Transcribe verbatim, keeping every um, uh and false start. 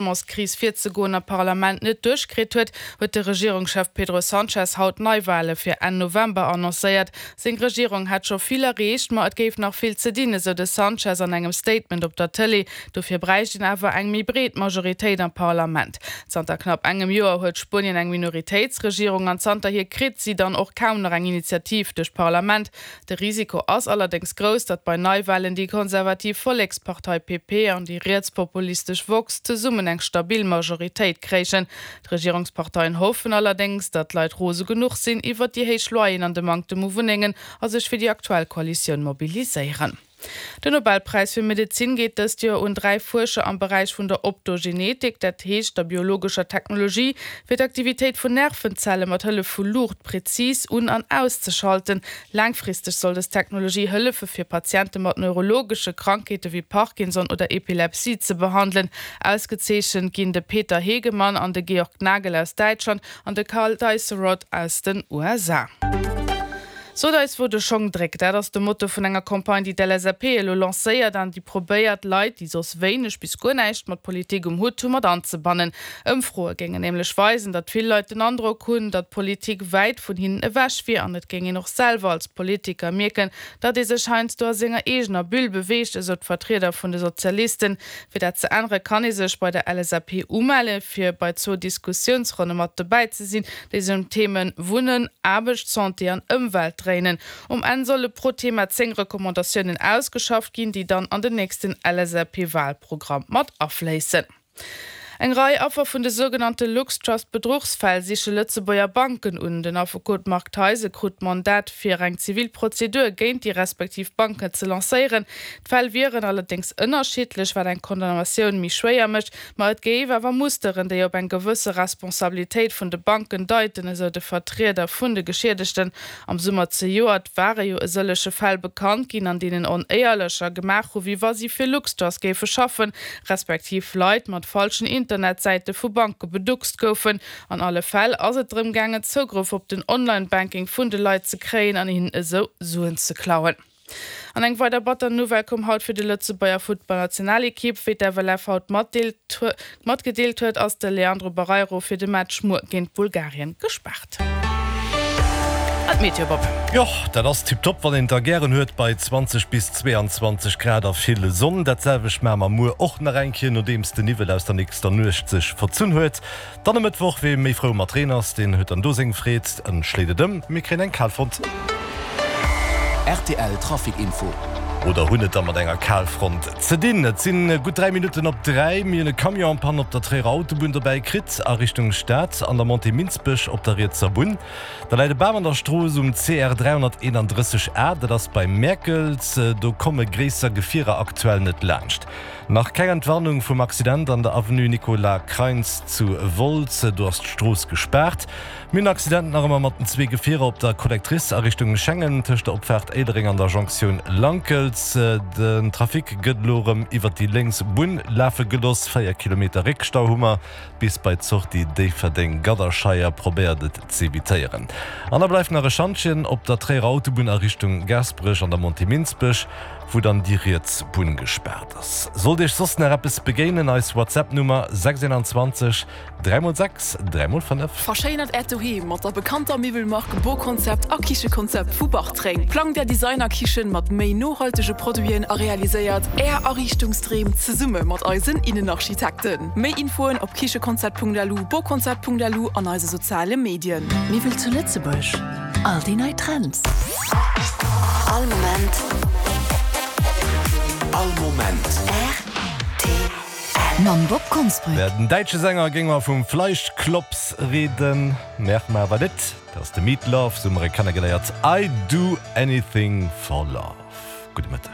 Logementskris virzegoen am Parlament net duerchkritt huet, huet de Regierungschef Pedro Sánchez haut Neiwale fir Enn November annoncéiert. Seng Regierung hätt scho vill erreecht, ma et géif nach vill ze dinn, esou de Sánchez an engem Statement op der Tëlee. Dofir bräicht een awer eng méi breet Majoritéit am Parlament. Zanter knapp engem Joer huet Spuenien eng Minoritéitsregierung an zanterhier kritt si dann och kaum nach eng Initiativ duerch d'Parlament. De Risiko ass allerdéngs grouss, datt bei Neiwalen déi konservativ Vollekspartei P P an déi rietspopulistesch Vox zesummen eng stabil Majoritéit kréien. D'Regierungsparteien hoffen allerdéngs, datt d'Leit rose genuch sinn iwwer déi héich Loyeren an de Manktem u Wunnengen a sech fir déi aktuell Koalitioun mobiliséieren. Den Nobelpräis fir Medezin geet dëst Joer un dräi Fuerscher am Beräich vun der Optogenetik, dat heescht der biologescher Technologie, fir d'Aktivitéit vun Nervenzelle mat Hëllef vu Luucht prezis un an auszeschalten. Laangfristeg soll dës Technologie hëllefe fir Patiente mat neurologesche Krankheete wéi Parkinson oder Epilepsie ze behandelen. Ausgezeechent ginn de Peter Hegemann an de Georg Nagel aus Däitschland an de Karl Deisseroth aus den U S A. Sot eis wou de Schong dréckt, dat ass de Motto vun enger Campagne, déi d'L S A P elo lancéiert an déi probéiert, Leit, déi soss wéineg bis guer näischt mat Politik um Hutt hunn, mat anzebannen. Ëmfroe géingen nämlech weisen, datt vill Leit den Androck hunn, datt Politik wäit vun hinnen ewech wier an et géing een och selwer als Politiker mierken, datt ee sech heiansdo a senger eegener Bulle beweegt, esou d'Vertrieder vun de Sozialisten. Fir dat ze ännere kann ee sech bei der L S A P umelle fir bei zwou Diskussiounsronne mat dobäi ze sinn, déi sech ëm d'Themen Wunnen, Aarbecht, Santé an Ëmwelt dréinen. Um Enn solle pro Thema zéng Recommandatiounen ausgeschafft ginn, déi dann an den nächsten L S A P-Walprogramm mat afléissen. Eng Rei Affer vun de sougenannte LuxTrust-Bedruchsfäll siche Lëtzebuerger Banken un. Den Affekot Marc Theise krut d'Mandat fir eng zivil Prozedur géint déi respektiv Banken ze lancéieren. D'Fäll wieren allerdéngs ënnerschiddlech, wat eng Condamnatioun méi schwéier mécht, ma et géif awer Musteren, déi op eng gewësse Responsabilitéit vun de Banken deiten, esou de Vertrieder vun de Geschiedegten. Am Summer zejoert ware jo e sëllege Fäll bekannt ginn, an deenen Onéierlecher gemaach hu wéi wa si fir LuxTrust géife schaffen, respektiv Leit mat falschen Internetsäite vu Banke beduckst goufen. An alle Fäll ass et drëm gaangen, Zougrëff op den Online-Banking vun de Leit ze kréien an hinnen esou Suen ze klauen. An eng weider batter Nouvelle koum haut fir de Lëtzebuerger Futtballnationalekipp. Wéi d'F L F haut matgedeelt huet, ass de Leandro Barreiro fir de Match muer géint Bulgarien gespaart. An d'Meteo, Bob. Jo, dat ass tiptop, wann een et da gären huet bei zwanzeg bis zweeanzwanzeg Grad a vill Sonn. Dat selwecht maache mer muer och nach eng Kéier, nodeems den Niwwel aus der nächster Nuecht sech verzunn huet. Dann e Mëttwoch, wee méi frou mat Reen ass, deen huet dann do seng Freed, en schléit et ëm, mir kréien eng Kalfront. R T L Trafic Info. Oder hunn et da mat enger Kalfront ze dinn. Et si gutt dräi Minutten op dräi. Mir hunn e Camion en panne op der Tréierer Autobunn dobäi kritt a Richtung Stad an der Montée Minsbech op der rietser Bunn. Da läit e Bam an der Strooss um C R dräihonnerteenandrësseg A, dat ass bei Mäerkels. Do komme gréisser Gefierer aktuell net laanscht. Nach keng Entwarnung vum Accident an der Avenue Nicolas Kreins zu Wolz, do ass d'Strooss gespaart. Mir hunn en Accident nach ëmmer mat den zwee Gefierer op der Collectrice a Richtung Schengen tëscht der Opfaart Éilereng an der Jonktioun Lankels. Den Trafic gëtt elo erëm iwwer déi lénks Bunn lafe gelooss. Véier Kilometer Réckstau hu mer bis bei d'Sortie Déifferdeng-Gadderscheier. Probéiert et z'evitéieren. An da bleift nach e Schantjen op der Tréierer Autobunn a Richtung Gaasperech an der Montée Minsbech, wou dann déi riets Bunn gespaart ass. Sollt iech soss nach eppes begéinen, eis WhatsApp-Nummer sechs zwanzeg dräi mol sechs dräi mol fënnef. Verschéinert äert Doheem mat der bekannter Miwwelmark Boconcept a Kichekonzept vu Bartreng. Plangt är Designerkichen mat méi nohaltege Produiten a realiséiert är Ariichtungsdreem zesumme mat eisen Innenarchitekten. Méi Infoen op kichekonzept Punkt L U, boconcept Punkt L U an eise soziale Medien. Miwwel zu Lëtzebuerg. All déi nei Trends. All Moment. All Moment. R T L. Mam Bob Konsbrück. Wär den däitsche Sänger géing mer vum Fleischklops rieden, maache mer awer net. Dat ass de Meat Loaf, sou hu mer e kennegeléiert. I do anything for love. Gudde Mëtteg.